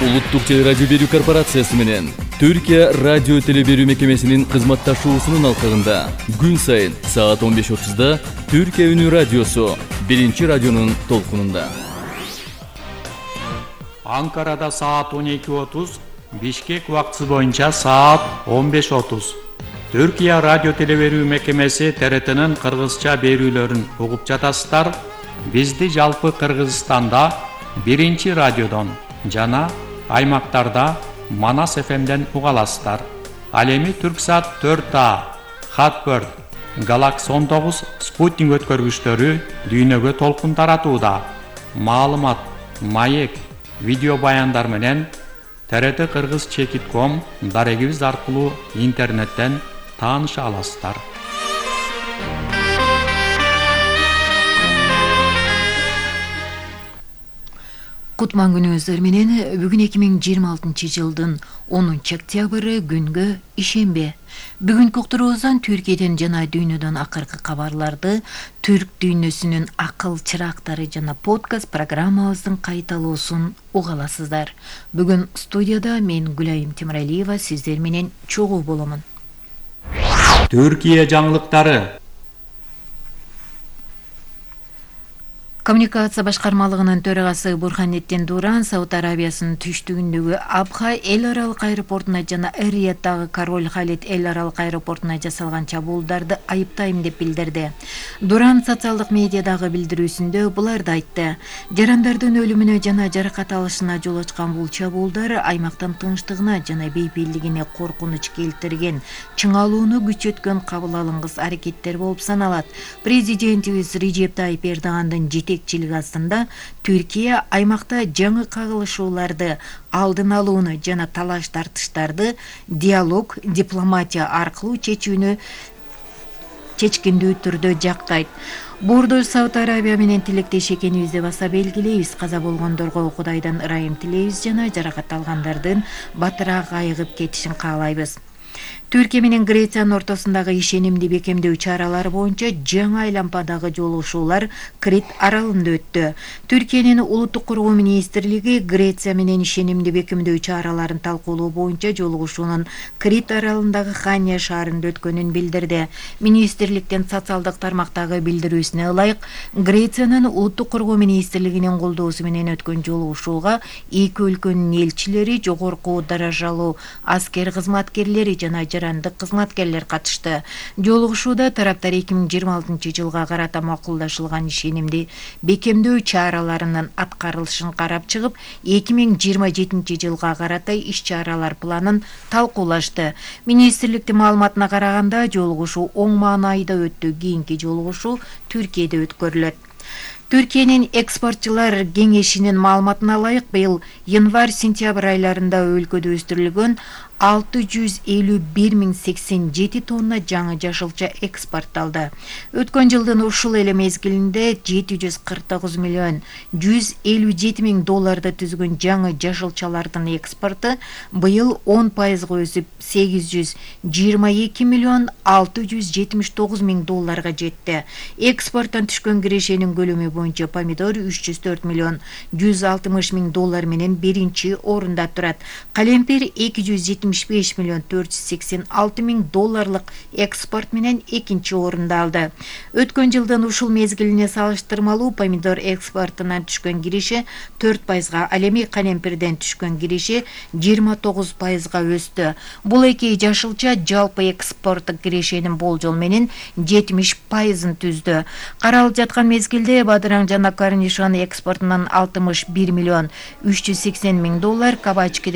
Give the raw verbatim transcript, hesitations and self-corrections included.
Улуттук теле радио берүү корпорациясы менен Түркия радио теле берүү мекемесинин кызматташуусунун алкагында күн сайын саат он беш отузда Түркия үнү радиосу биринчи радионун толкунунда. Анкарада саат он эки отуз, Бишкек убактысы боюнча саат он беш отуз. Түркия радио теле берүү мекемеси Т Р Т'нин кыргызча берүүлөрүн угуп жатасыздар. Бизди жалпы Кыргызстанда биринчи радиодон жана аймактарда Манас эф эмден уга аласыздар. Ал эми Түрксат төрт А, Хатбird, Galaxy он тогуз спутник өткөргүчтөрү дүйнөгө толкун таратууда. Маалымат, маек, видео баяндар менен Т Р Т кыргыз чекит ком дарегибиз аркылуу интернеттен тааныша аласыздар. Кутман күнүңүздөр менен бүгүн эки миң жыйырма алтынчы жылдын онунчу октябры күнгө ишембе. Бүгүнкү уктуруубуздан Түркияден жана дүйнөдөн акыркы кабарларды, түрк дүйнөсүнүн акыл чырактары жана подкаст программабыздын кайталоосун уга аласыздар. Бүгүн студияда мен Гүлайым Темиралиева сиздер менен чогуу боломун. Түркия жаңылыктары. Коммуникация башкармалыгынын төрагасы Бурханеттин Дуран Сауд Арабиясынын түштүгүндөгү Абха эл аралык аэропортуна жана Эр-Рияттагы Король Халид эл аралык аэропортуна жасалган чабуулдарды айыптайм деп билдирди. Дуран социалдык медиадагы билдирүүсүндө буларды айтты. Жарандардын өлүмүнө жана жаракат алышына жол ачкан бул чабуулдар аймактын тынчтыгына жана бейпилдигине коркунуч келтирген, чыңалууну күчөткөн кабыл алынгыс аракеттер болуп саналат. Президентибиз Режеп Тайип Эрдогандын жетекчилиги астында Түркия аймакта жаңы кагылышууларды алдын алууну жана талаш тартыштарды диалог, дипломатия аркылуу чечүүнү чечкиндүү түрдө жактайт. Бордо Сауд Арабия менен тилектеш экенибизди баса белгилейбиз. Каза болгондорго Кудайдан ырайым тилейбиз жана жаракат алгандардын батыраак айыгып кетишин каалайбыз. Түркия менен Грециянын ортосундагы ишенимди бекемдөө чаралары боюнча жаңы айлампадагы жолугушуулар Крит аралында өттү. Түркиянын улуттук коргоо министрлиги Греция менен ишенимди бекемдөө чараларын талкуулоо боюнча жолугушуунун Крит аралындагы Хания шаарында өткөнүн билдирди. Министрликтин социалдык тармактагы билдирүүсүнө ылайык, Грециянын улуттук коргоо министрлигинин колдоосу менен өткөн жолугушууга эки өлкөнүн элчилери, жогорку даражалуу аскер кызматкерлери жана жарандык кызматкерлер катышты. Жолугушууда тараптар эки миң жыйырма алтынчы жылга карата макулдашылган ишенимди бекемдөө чараларынын аткарылышын карап чыгып, эки миң жыйырма жетинчи жылга карата иш-чаралар планын талкуулашты. Министрликтин маалыматына караганда, жолугушуу оң маанайда өттү. Кийинки жолугушуу Түркияда өткөрүлөт. Түркиянын экспортчулар кеңешинин маалыматына ылайык, быйыл январь-сентябрь айларында өлкөдө өстүрүлгөн алты жүз элүү бир миң сексен жети тонна жаңы жашылча экспортталды. Өткөн жылдын ушул эле мезгилинде жети жүз кырк тогуз миллион жүз элүү жети миң долларды түзгөн жаңы жашылчалардын экспорту быйыл он пайызга өсүп сегиз жүз жыйырма эки миллион алты жүз жетимиш тогуз миң долларга жетти. Экспорттон түшкөн кирешенин көлөмү боюнча помидор үч жүз төрт миллион жүз алтымыш миң доллар менен биринчи орунда турат. Калемпир эки жүз жетимиш беш миллион төрт жүз сексен алты миң долларлык экспорт менен экинчи орунда алды. Өткөн жылдын ушул мезгилине салыштырмалуу помидор экспортунан түшкөн киреше төрт пайызга, ал эми калемпирден түшкөн киреше жыйырма тогуз пайызга өстү. Бул эки жашылча жалпы экспорттук кирешенин болжол менен жетимиш пайызын түздү. Каралып жаткан мезгилде бадыраң жана корнишон экспортунан алтымыш бир миллион үч жүз сексен миң доллар, кабачкиден